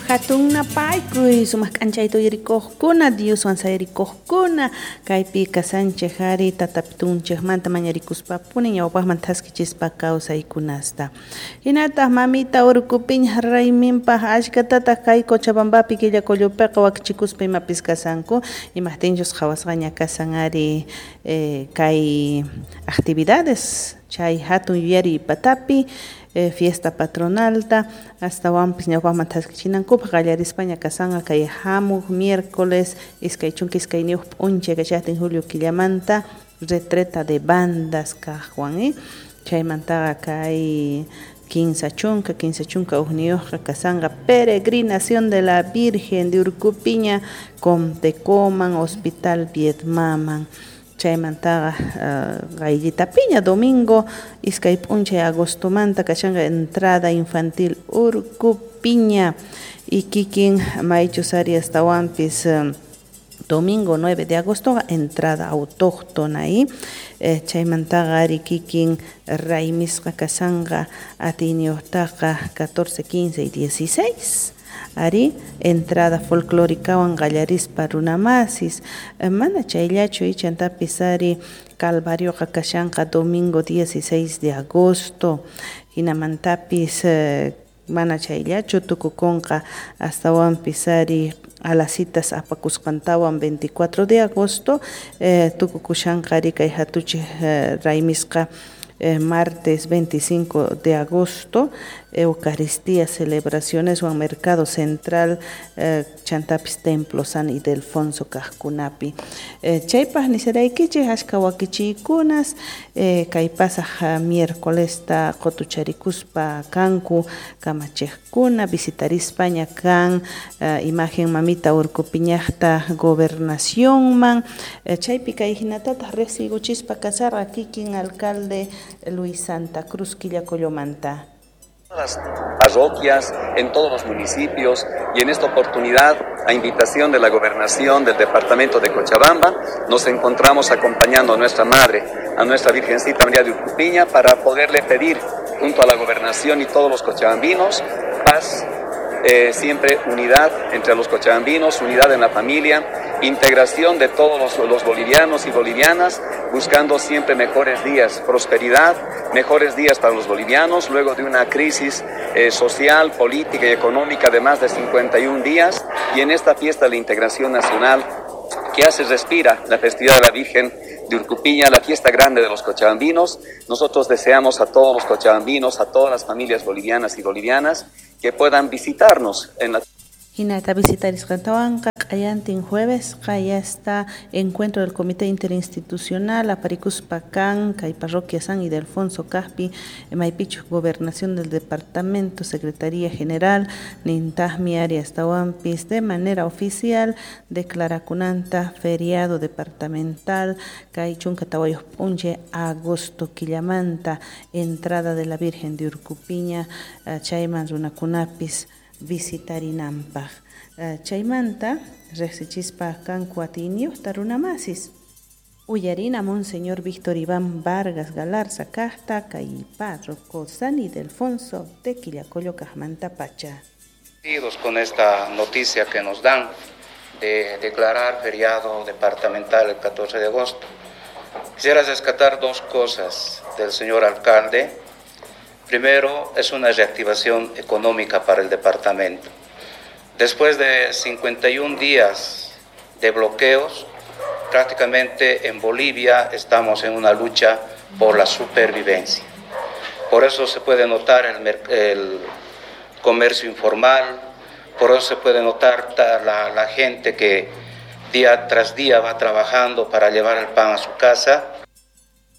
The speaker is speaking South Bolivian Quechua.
Hatun napaykuy sumaq k'anchayta uyarikuqkuna, Dioswan sayarikuqkuna, kaypi kasanchej ari tatapitunchejmanta mañarikuspapuni ñawpaqman thaskichispa kawsaykunasta. Hinataq mamita Urkupiña rayminpaq ashkatataq kay Cochabambapi Quillacollopiqa wakichikuspa imapis kasanku, imajtinchus qhawasqaña kasan ari kay actividades chay hatun yuyariy patapi fiesta patronalta astawanpis ñawpaqman thaskichinankupaq qallarispaña kasanqa kay hamuq miércoles 22 p'unchay kachaqtin julio killamanta retreta de bandas kaqwan chaymantaqa kay 51 kasanqa peregrinación de la Virgen de Urcupiña Comtecoman Hospital Viedmaman. Chaymantaqa qayllitapiña domingo 2 p'unchay agostomanta kashanqa entrada infantil Urcupiña y kikin maychus ari astawanpis domingo 9 de agosto entrada autóctona chaymantaqa ari kikin raymisqa kasanqa atiyniyuqtaqa 14, 15 y 16 ari entrada folclóricawan qallarispa runamasis mana chayllachu chantapis ari calvarioqa kashanqa domingo 16 de agosto hinamantapis mana chayllachu tukukunqa astawanpis ari alasitas apakusqantawan 24 de agosto tukukushanqa ari kay hatuchej raymisqa martes 25 de agosto, Eucaristía, celebraciones o Mercado Central, chantapis Templo San Ildefonso kajkunapi. Chaypaj nisaraykichej ashka wakichiykunas, kay pasaj miércolesta qotucharikuspa kanku kamachejkuna, visitarispaña kan imagen mamita Urcupiñajta gobernacionman, chaypi kay hinatataj riqsiykuchispa kasarqa kikin alcalde Luis Santa Cruz Quillacollomanta. Las parroquias, en todos los municipios y en esta oportunidad, a invitación de la gobernación del departamento de Cochabamba, nos encontramos acompañando a nuestra madre, a nuestra Virgencita María de Urcupiña, para poderle pedir, junto a la gobernación y todos los cochabambinos, paz, siempre unidad entre los cochabambinos, unidad en la familia, integración de todos los bolivianos y bolivianas, buscando siempre mejores días, prosperidad, mejores días para los bolivianos, luego de una crisis social, política y económica de más de 51 días, y en esta fiesta de la integración nacional que hace respira la festividad de la Virgen de Urcupiña, la fiesta grande de los cochabambinos. Nosotros deseamos a todos los cochabambinos, a todas las familias bolivianas y bolivianas que puedan visitarnos en la... Hinata visitarisqantawanqa q'ayantin jueves ya está encuentro del Comité Interinstitucional aparikuspa kan kay parroquia San Ildefonso kajpi maypichu gobernación del departamento, Secretaría General nintajmi ari astawanpis de manera oficial declarakunanta feriado departamental kay 14 p'unchay agosto killamanta entrada de la Virgen de Urcupiña chayman runakunapis visitarinanpaj. Chaymanta riqsichispa kanku atiyniyuqta runamasis. Uyarina Monseñor Víctor Iván Vargas Galarza kajta kay párroco San Ildefonso de Quillacollo kajmanta pacha. Con esta noticia que nos dan de declarar feriado departamental el 14 de agosto, quisiera rescatar dos cosas del señor alcalde. Primero, es una reactivación económica para el departamento. Después de 51 días de bloqueos, prácticamente en Bolivia estamos en una lucha por la supervivencia. Por eso se puede notar el comercio informal, por eso se puede notar la gente que día tras día va trabajando para llevar el pan a su casa.